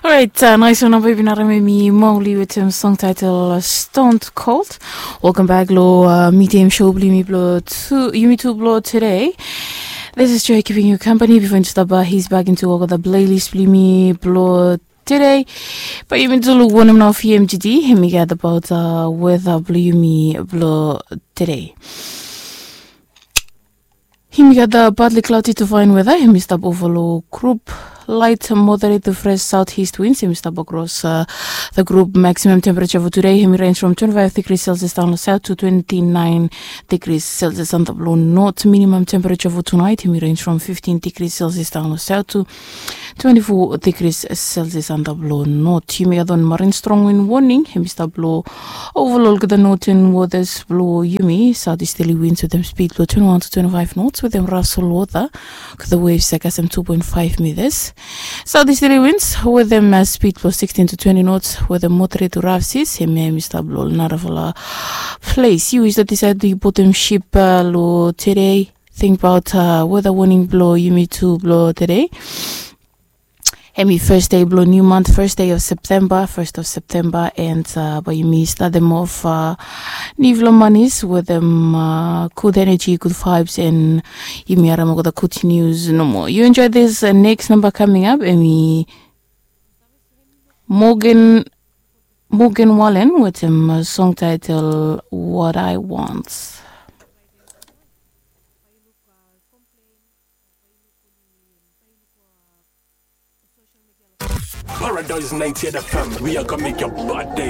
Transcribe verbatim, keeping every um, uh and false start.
Orait, nais wan nao bae yumi bin harem hemi Mowgli wetem song taetel Stone Cold. Welkam bak lo uh, midiam show blo yumi blo tu, yumi tu blo tude. This is Joy keeping you company bifo yumi stap uh, his back into olgeta playlist blo yumi blo tude. Bae yumi tu luk wanem nao fi yumi tude, hemi gat abaot uh, weta blo yumi blo tude. Hemi gat a partly cloudy to fine weather. Hemi stap ova lo group light moderate to fresh southeast winds. Hemi stap across uh, the group. Maximum temperature for today, hemi range from twenty-five degrees Celsius down lo south to twenty-nine degrees Celsius antap lo north. Minimum temperature for tonight, hemi range from fifteen degrees Celsius down lo south to twenty-four degrees Celsius antap lo north. Yumi gat wan marine strong wind warning, hemi stap lo ova lo olgeta northern waters blo yumi. Southeasterly winds wetem speed blo twenty-one to twenty-five knots wetem raf solwota. Olgeta waves ia kasem two point five meters. Southeasterly winds wetem uh, speed blo sixteen to twenty knots wetem moderate to raf seas. Hemia hemi stap lo narafala place. Yu i save disaed tu botem ship uh, lo tude. Think about uh, weather warning blo yumi tu blo tude. Hemi first day blo new month, first day of September, first of September, and uh, bae yumi start them off uh, nifala manis wetem uh, good energy, good vibes, and yumi harem olgeta good news nomo. You enjoy this uh, next number coming up, hemi Morgan Morgan Wallen wetem uh, song title What I Want. Paradise ninety-eight F M, we are gonna make your body